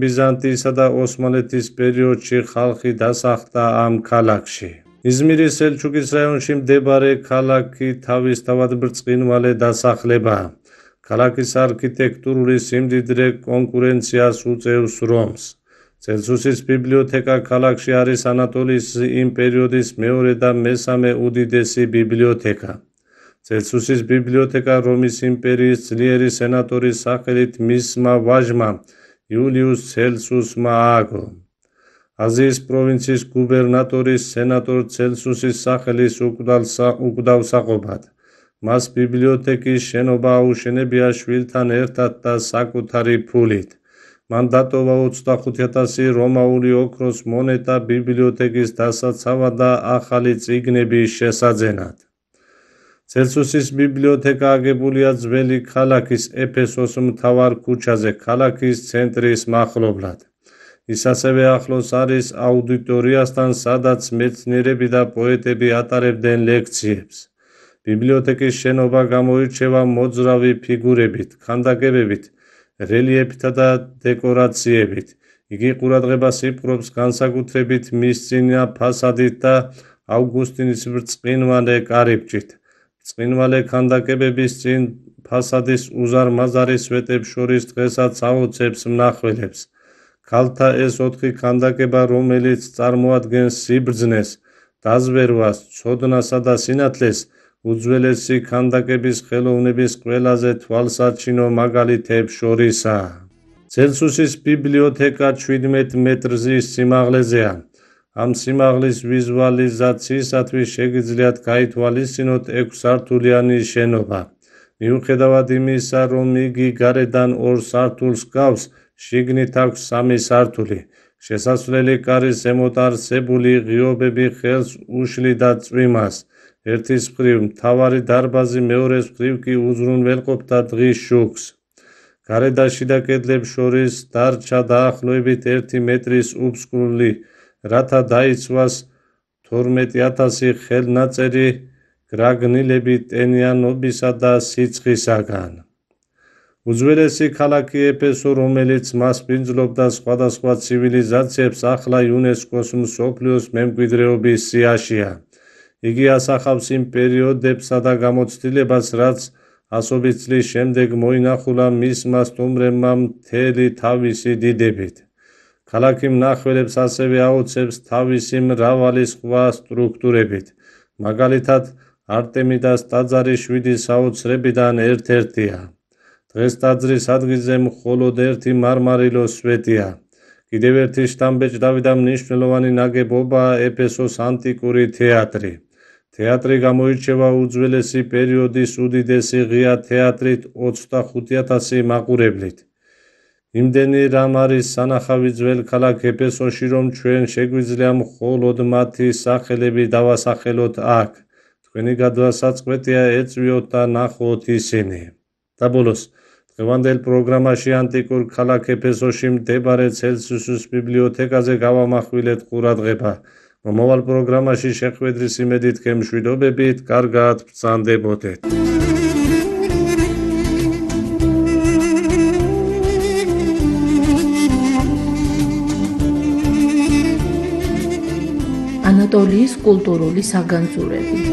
ბიზანტიისა და ოსმალეთის პერიოდში ხალხი დასახლდა ამ ქალაქში. იზმირის სელჩუკის რაიონში მდებარე ქალაქი თავისთავად ბრწყინვალე დასახლებაა. ქალაქის არქიტექტურული სიმდიდრე კონკურენციას უწევს რომს. ცელსუსის ბიბლიოთეკა ქალაქში არის ანატოლიის იმ პერიოდის მეორე და მესამე უდიდესი ბიბლიოთეკა. ცელსუსის ბიბლიოთეკა რომის იმპერიის ძლიერი სენატორის სახელით მისმა ვაჟმა იულიუს ცელსუსმა ააგო. აზიის პროვინციის გუბერნატორის სენატორ ცელსუსის სახელის უკვდავსაყოფად. მას ბიბლიოთეკის შენობა აუშენებია შვილთან ერთად და საკუთარი ფულით. მან დატოვა 25,000 რომაული ოქროს მონეტა ბიბლიოთეკის დასაცავად და ახალი წიგნების შესაძენად. ცელსუსის ბიბლიოთეკა აგებულია ძველი ქალაქის ეფესოს მთავარ ქუჩაზე, ქალაქის ცენტრის მახლობლად. ის ასევე ახლოს არის აუდიტორიასთან, სადაც მეცნიერები და პოეტები ატარებდნენ ლექციებს. ბიბლიოთეკის შენობა გამოირჩევა მოძრავი ფიგურებით, ქანდაკებებით, რელიეფთა და დეკორაციებით. იგი ყურადღებას იპყრობს განსაკუთრებით მისწინა ფასადით და ავგუსტინის ბრწყინვალე კარიბჭით. ბრწყინვალე ქანდაკებების წინ ფასადის უზარმაზარი სვეტებს შორის დღესაც აოცებს მნახველებს. ქალთა ეს 4 ქანდაკება, რომელიც წარმოადგენს სიბრძნეს, დაზვერვას, ცოდნასა და სინათლეს, უძველესი ქანდაკების ხელოვნების ყველაზე თვალსაჩინო მაგალითებს შორისაა. ცელსუსის ბიბლიოთეკა 17 მეტრზის სიმაღლეზეა. ამ სიმაღლის ვიზუალიზაციისათვის შეგიძლიათ გაითვალისწინოთ 6 სართულიანი შენობა. მიუხედავად იმისა, რომ იგი გარედან 2 სართულს ჰგავს, შიგნით აქვს 3 სართული. შესასვლელი კარის ზემოთ არსებული ღიობები ხელს უშლიდა წვიმას. ერთის მხრივ მთავარი დარბაზი, მეორეს მხრივ კი უზრუნველყოფდა დღის შუქს. გარე და შიდა კედლებს შორის დარჩა დაახლოებით 1 მეტრის უბსკრული, რათა დაიცვას 12,000 ხელნაწერი გრაგნილები ტენიანობისა და სიცხისაგან. უძველესი ქალაქი ეფესო, რომელიც მასპინძლობდა სხვადასხვა ცივილიზაციებს, ახლა იუნესკოს მსოფლიოს მემკვიდრეობის სიაშია. იგი ასახავს იმ პერიოდებსა და გამოცდილებას, რაც ასობით წლის შემდეგ მოინახულა მისმა სტუმრებმა მთელი თავისი დიდებით. ქალაქი მნახველებს ასევე აოცებს თავისი მრავალი სხვა სტრუქტურებით. მაგალითად, არტემიდას ტაძარი 7 საოცრებიდან ერთ-ერთია. დღეს ტაძრის ადგილზე მხოლოდ ერთი მარმარილოს სვეტია. კიდევ ერთი შთამბეჭდავი და მნიშვნელოვანი ნაგებობაა ეფესოს ანტიკური თეატრი. თეატრი გამოირჩევა უძველესი პერიოდის უდიდესი ღია თეატრით 25,000 მაყურებლით. იმდენი რამ არის სანახავი ძველ ქალაქ ეფესოში, რომ ჩვენ შეგვიძლია მხოლოდ მათი სახელები დავასახელოთ აქ. თქვენი გადასაწყვეტია ეწვიოთ და ნახოთ ისინი. და ბოლოს, დღევანდელ პროგრამაში ანტიკურ ქალაქ ეფესოში მდებარე ცელსუსის ბიბლიოთეკაზე გავამახვილეთ ყურადღება. მომავალ პროგრამაში შეხვედრის იმედით გემშვიდობებით, კარგად ბრძანდებოდეთ. ანატოლიის კულტურული საგანძურები.